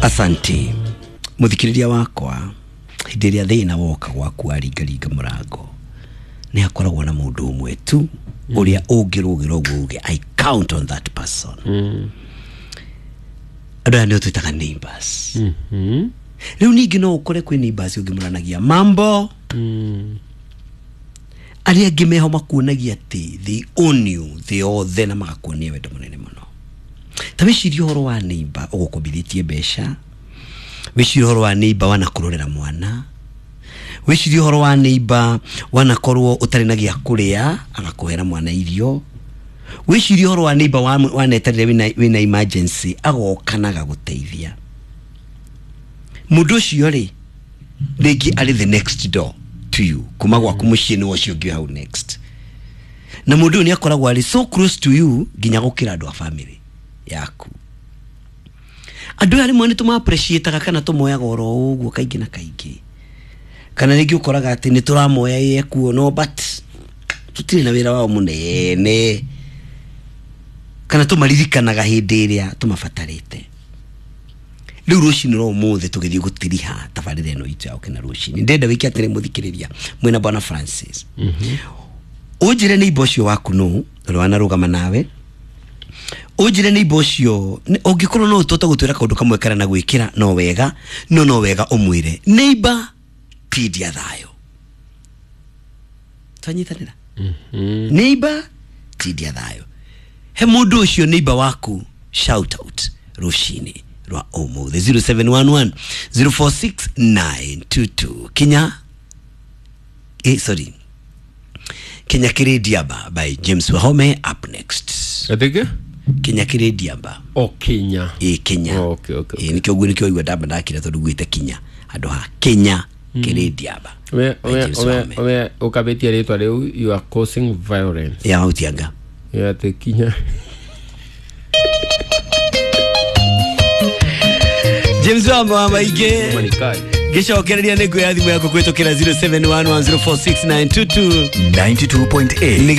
Asante muthikiriria wakwa, hĩndĩ ĩrĩa thĩna woka gwaku aringaringa mũrango, nĩ hakoragwo na mũndũ ũmwe tu ũrĩa ũngĩrũgĩra ũguo uge I count on that person. Andũ aya nĩo twĩtaga neighbors. Rĩu ningĩ no ũkore kwĩ neighbors ũngĩmũranagia mambo, arĩa angĩ meho makuonagia atĩ they own you thĩ yothe na magakuonia wendo mũnene mũno. Ta wĩcirie ũhoro wa neighbor ũgũkombithĩtie mbeca, wĩcirie ũhoro wa neighbor wanakũrorera mwana, wĩcirie ũhoro wa neighbor wanakorwo ũtarĩ na gĩa kũrĩa agakũhera mwana irio, wĩcirie ũhoro wa neighbor waneterere wĩna emergency agoka na agagũteithia. Mũndũ ũcio rĩ, rĩngĩ arĩ the next door to you, kuma gwaku mũciĩ nĩ ũcio ũngĩ hau next, na mũndũ ũyũ nĩ akoragwo arĩ so close to you nginya gũkĩra andũ a family yaku. Andũ aya rĩmwe nĩ tũma-appreciate-aga kana tũmoyaga oro ũguo kaingĩ na kaingĩ, kana rĩngĩ ũkoraga atĩ nĩ tũramoya ĩ ekuo no but tũtirĩ na wĩra wao mũnene, kana tũmaririkanaga hĩndĩ ĩrĩa tũmabatarĩte. Rĩu rũcinĩ rwa ũmũthĩ tũgĩthiĩ gũtiriha tabarĩra ĩno itũ ya Gũkena Rũcinĩ, ndĩrenda wĩke atĩrĩ mũthikĩrĩria mwĩna bwana Francis, ũnjĩre neighbor ũcio waku nũ ũrĩa wanarũgama nawe, ũnjĩre neighbor ũcio ũngĩkorwo no ũtote gũtwĩra kaũndũ kamwe karĩa na gwĩkĩra no wega, no wega ũmwĩre neighbor tindia thayũ. Twanyitanĩra? Neighbor tindia thayũ. He mũndũ ũcio neighbor waku shout out rũcinĩ rwa ũmũthĩ 0711 046 922. Kinya sorry, Kinya Kĩrĩndiamba by James Wahome up next. Atĩkĩ? Kinya Kĩrĩndiamba. O Kinya. Ĩ Kinya. Oh, okay. Ĩ nĩkĩo ũguo nĩkĩo waigua ndamba ndakira tondũ guĩte Kinya handũ ha Kinya Kĩrĩndiamba We by we James we Wahome. we ũkabĩtia rĩtwa rĩu, you are causing violence. Ya Mautianga. Ya atĩ Kinya. James Wahome wa maingĩ Manikai. ngĩcokereria nĩ nguoya thimũ yaku kũhĩtũkĩra 0711046922. 92.8.